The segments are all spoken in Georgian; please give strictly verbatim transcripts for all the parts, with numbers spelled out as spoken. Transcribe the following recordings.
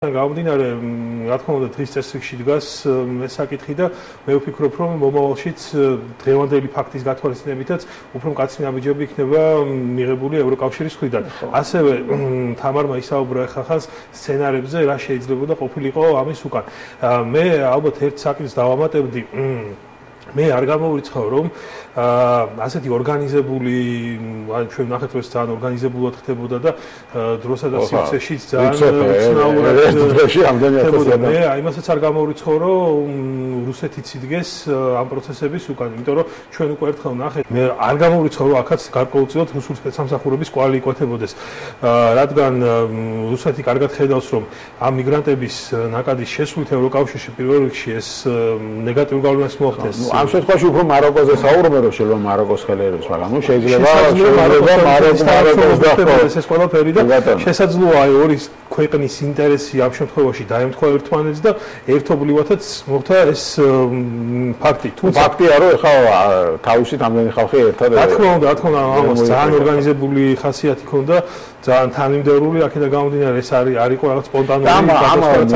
გამომდინარე, რა თქმა უნდა, დღის წესრიგში დგას ეს საკითხი და მე ვფიქრობ, რომ მომავალშიც დღევანდელი ფაქტის გათვალისწინებითაც უფრო მკაცრი ნაბიჯები იქნება მიღებული ევროკავშირის მხრიდან. ასევე თამარმა ისაუბრა ხახას სცენარებზე, რა შეიძლება ყოფილიყო ამის უკან. მე ალბათ ერთ საკითხს დავამატებდი. მე არ გამოვიწყავ, რომ ასეთი ორგანიზებული, ჩვენ ნახეთ, რომ ძალიან ორგანიზებულად ხდებოდა და დროსა და სივრცეში ძალიან უცნაურად ხდებოდა. მე იმასაც არ გამოვიწყავ, რომ რუსეთიც იდგეს ამ პროცესების უკან, იმიტომ რომ ჩვენ უკვე ერთხელ ნახეთ. მე არ გამოვიწყავ, რომ აქაც გარკვეულწილად რუსული სპეცსამსახურების კვალი იკვეთებოდეს, რადგან რუსეთი კარგად ხედავს, რომ ამ მიგრანტების ნაკადის შესვლით ევროკავშირში პირველ რიგში ეს ნეგატიურ გავლენას მოახდენს. ამ შემთხვევაში უფრო მაროკოზე საუბრობენ, რომ შეიძლება მაროკოს ხელეროს, მაგრამ ნუ შეიძლება შეიძლება მაროკოს დახვდეს ეს ყველაფერი და შესაძლოა აი ორი ქვეყნის ინტერესი ამ შემთხვევაში დაემთხვა ერთმანეთს და ერთობლივათაც მოხდა ეს ფაქტი. თუმცა ფაქტია, რომ ეხლა თავისით ამდენი ხალხი ერთად რა თქმა უნდა, რა თქმა უნდა, ამას ძალიან ორგანიზებული ხასიათი ჰქონდა, ძალიან თანმიმდევრული, აქედან გამომდინარე ეს არის არ იყო რაღაც სპონტანური გადასახადი.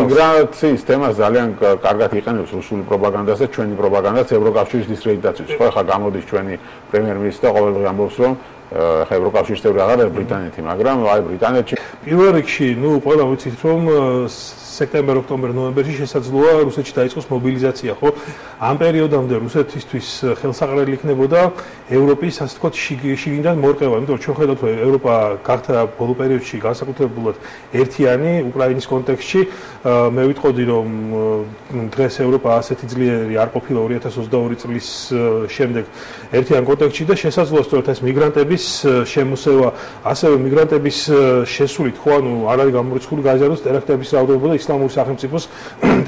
მიგრაციის თემას ძალიან კარგად იყენებს რუსული პროპაგანდას და ჩვენი პროპაგანდაც ევროკავშირის დისკრედიტაციის. ხო, ახლა გამოდის ჩვენი პრემიერ-მინისტრი და ყოველდღე ამბობს, რომ ახლა ევროკავშირის წევრი აღარ არის ბრიტანეთი, მაგრამ აი ბრიტანეთში პირველ რიგში, ნუ ყველა ვიცით, რომ სექტემბერ, ოქტომბერ, ნოემბერში შესაძლოა რუსეთში დაიწყოს მობილიზაცია, ხო? ამ პერიოდამდე რუსეთისთვის ხელსაყრელი იქნებოდა ევროპის, ასე ვთქვათ, შიგნიდან მორყევა, იმიტომ რომ ჩვენ ხედავთ, რომ ევროპა გახდა ბოლო პერიოდში განსაკუთრებულად ერთიანი უკრაინის კონტექსტში. მე ვიტყოდი, რომ დღეს ევროპა ასეთი ძლიერი არ ყოფილა ორი ათას ოცდაორი წლის შემდეგ ერთიან კონტექსტში და შესაძლოა სწორედ ეს მიგრანტების შემოსევა, ასევე მიგრანტების შესულით, ხო, ანუ არ არის გამორიცხული გაიზარდოს ტერაქტების რაოდენობა და ისლამური სახელმწიფოს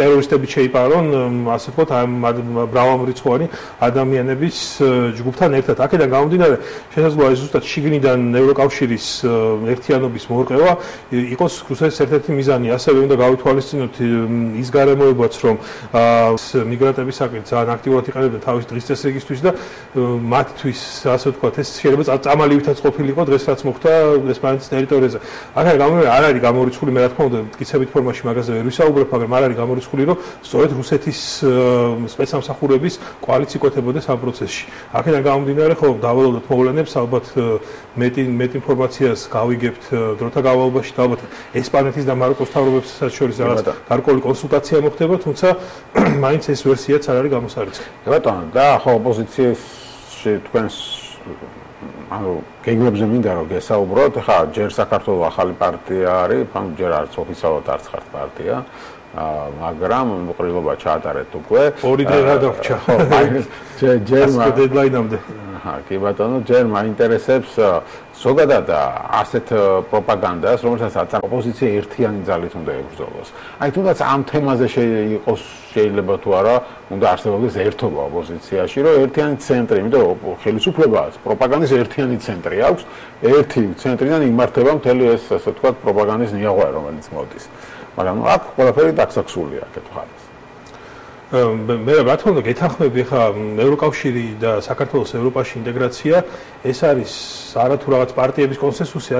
ტერორისტები შეიპარონ, ასე ვთქვათ, ამ მრავალრიცხოვანი ადამიანების ჯგუფთან ერთად. აქედან გამომდინარე, შესაძლოა ეს ზუსტად შიგნიდან ევროკავშირის ერთიანობის მორყევა იყოს რუსეთის ერთ-ერთი მიზანი. ასევე უნდა გავითვალისწინოთ ის გარემოებაც, რომ მიგრანტების საკითხი ძალიან აქტიურად იყენებდნენ თავის დღის წესრიგისთვის და მათთვის, ასე ვთქვათ, ეს შეიძლება წამალივითაც ყოფილიყო დღეს რაც მოხდა ესპანეთის ტერიტორიაზე. აქ გამომდინარე, არ არის გამორიცხული, მე რა თქმა უნდა, მტკიცებით ფორმაში მაგაზე ვერ ვისაუბრებ, მაგრამ არ არის გამორიცხული, რომ სწორედ რუსეთის სპეცსამსახურების კვალიც იკვეთებოდეს ამ პროცესში. აქედან გამომდინარე, ხო, დავალოდოთ მოვლენებს, ალბათ მეტი მეტი ინფორმაციას გავიგებთ დროთა განმავლობაში და ალბათ ესპანეთის და მაროკოს მთავრობებსაც შორის რაღაც გარკვეული კონსულტაცია მოხდება, თუმცა მაინც ეს ვერსიაც არ არის გამოსარიცხი. ბატონო, და ხო ოპოზიციაში თქვენს ანუ გეგმებზე მინდა რომ გესაუბროთ, ხა ჯერ საქართველოს ახალი პარტია არის, ანუ ჯერ არც ოფიციალურად არც ხართ პარტია, მაგრამ მოყრილობა ჩაატარეთ უკვე. ორი დღე გადარჩა. ჯერ ჯერ დედლაინამდე. აჰა, კი ბატონო, ჯერ მაინტერესებს ზოგადად ასეთ პროპაგანდას, რომელსაც ოპოზიცია ერთიანი ძალით უნდა ებრძოლოს. აი თუნდაც ამ თემაზე იყოს შეიძლება თუ არა, უნდა არსებობდეს ერთობა ოპოზიციაში, რომ ერთიანი ცენტრი, იმიტომ რომ ხელისუფლებას პროპაგანდის ერთიანი ცენტრი აქვს, ერთი ცენტრიდან იმართება მთელი ეს, ასე ვთქვათ, პროპაგანდის ნიაღვა, რომელიც მოდის. მაგრამ აქ ყველაფერი დაქსაქსულია აქეთ ხარეს. მე რა თქმა უნდა გეთანხმები ხა ევროკავშირი და საქართველოს ევროპაში ინტეგრაცია ეს არის არათუ რაღაც პარტიების კონსენსუსი,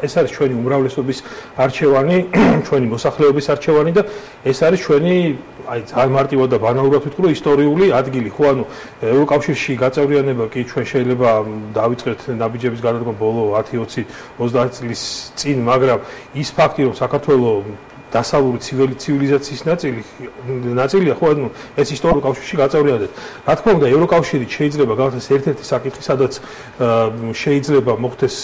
ეს არის ჩვენი უმრავლესობის არჩევანი, ჩვენი მოსახლეობის არჩევანი და ეს არის ჩვენი აი ძალიან მარტივად და ბანალურად ვიტყვი, რომ ისტორიული ადგილი, ხო, ანუ ევროკავშირში გაწევრიანება კი ჩვენ შეიძლება დავიწყეთ ნაბიჯების გადადგმა ბოლო ათი ოცი ოცდაათი წლის წინ, მაგრამ ის ფაქტი, რომ საქართველოს დასავლური ცივილიზაციის ნაწილი ნაწილია, ხო, ანუ ეს ისტორიულ კავშირში გაწევრიანებად. რა თქმა უნდა, ევროკავშირი შეიძლება გახდეს ერთ-ერთი საკითხი, სადაც შეიძლება მოხდეს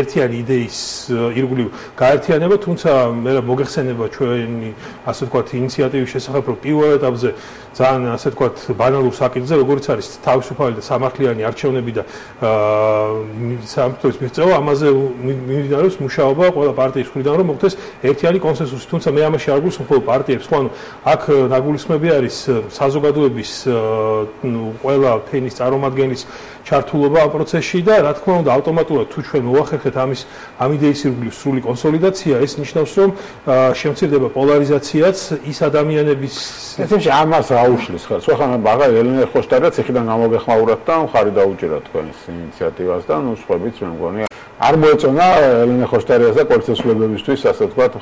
ერთიანი იდეის ირგვლივ გაერთიანება, თუმცა მე მოგეხსენება ჩვენი, ასე ვთქვათ, ინიციატივის შესახებ, რომ პირველ ეტაპზე ძალიან, ასე ვთქვათ, ბანალურ საკითხზე, როგორც არის თავისუფალი და სამართლიანი არჩევნები და სამართლის მიღწევა, ამაზე მიმდინარეობს მუშაობა ყველა პარტიის მხრიდან, რომ მოხდეს ერთიანი კონსენსუსი. თუმცა მე ამაში არ გულისხმობ მხოლოდ პარტიებს, ხო, ანუ აქ ნაგულისხმები არის საზოგადოების ყველა ფენის წარმომადგენლის ჩართულობა ამ პროცესში და რა თქმა უნდა ავტომატურად თუ ჩვენ მოახერხეთ ამის ამ იდეის ირგვლივ სრული კონსოლიდაცია, ეს ნიშნავს, რომ შემცირდება პოლარიზაციაც ის ადამიანების ესეში ამას აუშლის ხელს. ხო, ხან ბაღა ელენე ხოშტარაც ეხიდან გამოგეხმაურათ და მხარი დაუჭირათ თქვენს ინიციატივას და ნუ სხვაებიც მე მგონი არ მოეწონა ელენე ხოშტარიას და კოალიციის მლებლებისთვის, ასე ვთქვათ,